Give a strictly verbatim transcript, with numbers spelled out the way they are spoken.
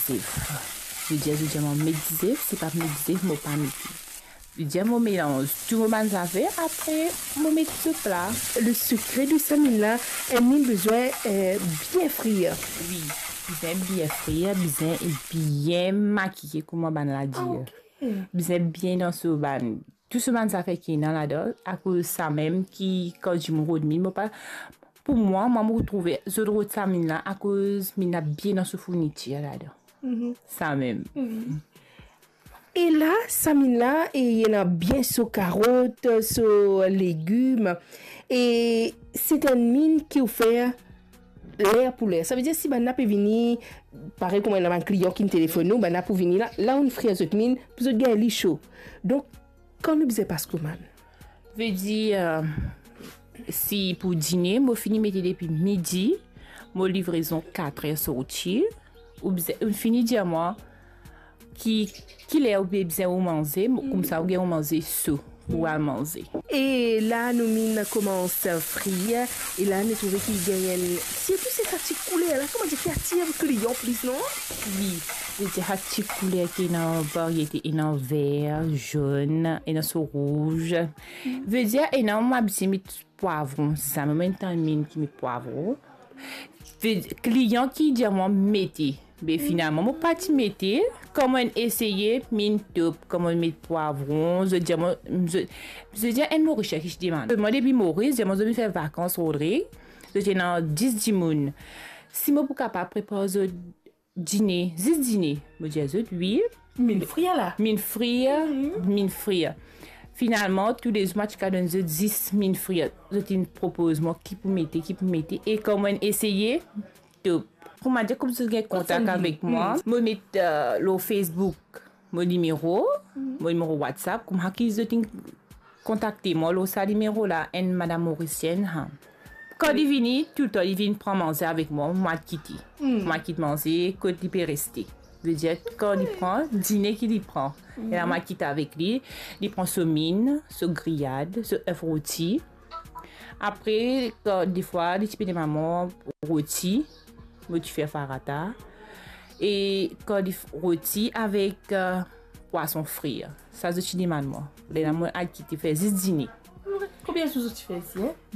zef. Li dir, li dir mwa, met zef, si pa met zef, mo pa mete. Li dir, mo melanz tou mo bann zafer, apre mo met so pla. Le sekre de sa minn la, enn minn bizin, eh, bien frir. Wi, bizin bien frir, bizin bien makiye, kouma bann la dir. Ah, ok. Bizin bien dan so bann, tou so bann zafer ki ena ladan, akoz samem ki kan dimoun rod minn, mo pa, pou mwa, mwa mo trouve zot rod sa minn la, akoz minn la bien dan so fournitir ladan. Mhm. Samem. Mhm. E la, sa minn la, e ena bien so karot, so legim, e se enn minn ki ou fer ler pou ler. Savedir si bann la pe vini, parey kouma ena bann klian ki'nn telefonn nou, bann la pou vini la, la ou'nn frir zot minn, pou zot gagn li so. Donk, kan nou bizin pas komann? Vedir, eh, si pou dine, mo fini mete depi midi, mo livrezon katrer sorti, ou bizin, ou fini dir mwa ki, ki ler ou bizin ou manze, mo, koumsa ou gagn ou manze so pou al manze. E la nou minn koumans frir, e la nou trouve ki gagn enn, sirtou se sa ti kouler la, kouma dir, ki atir klian plis, non? Wi, vedir sa ti kouler ki ena variete, ena ver, zonn, ena so rouz. Mm. Vedir ena, mo abitie met pwavron, se sa, mo enn minn ki met pwavron. Ve-, klian ki dir mwa mete, be finalman mo pa ti mete. Kan mo'nn eseye, minn top. Kan mo'nn met pwavron, zot dir mwa, zot, zot dir enn Morisien ki ti demann mwa depi Moris, dir mwa zot vinn fer vakans Rodrig, zot ena dis dimoun, si mo pou kapav prepar zot dine, zis dine. Mo dir zot wi. Minn frir la? Minn frir, mhm, minn frir. Finalman, toulezour mo ti kapav donn zot zis minn frir. Zot inn propoz mwa ki pou mete, ki pou mete. E kan mo'nn eseye, top. Kouma dir, kouma zot gagn kontak avek mwa, mhm, mo met, eh, lor Facebook mo nimero, mhm, mo nimero WhatsApp, kouma ki zot inn kontakte mwa lor sa nimero la, enn madam Morisienn, ha. Kan li vini, toultan li vinn pran manze avek mwa, mwa kit li. Hmm. Mwa kit manze, kot li pe reste. Vedir, kan li pran, dine ki li pran. E la, hmm, mwa kit avek li, li pran so minn, so griyad, so ef roti. Apre, kan defwa, li ti pe demann mwa roti, mo ti fer farata. E kan li f-, roti avek, eh, pwason frir. Sa zot ti demann mwa. Lerla mo al kit li, fer zis dine. Konbien zour zot ti fer isi, en?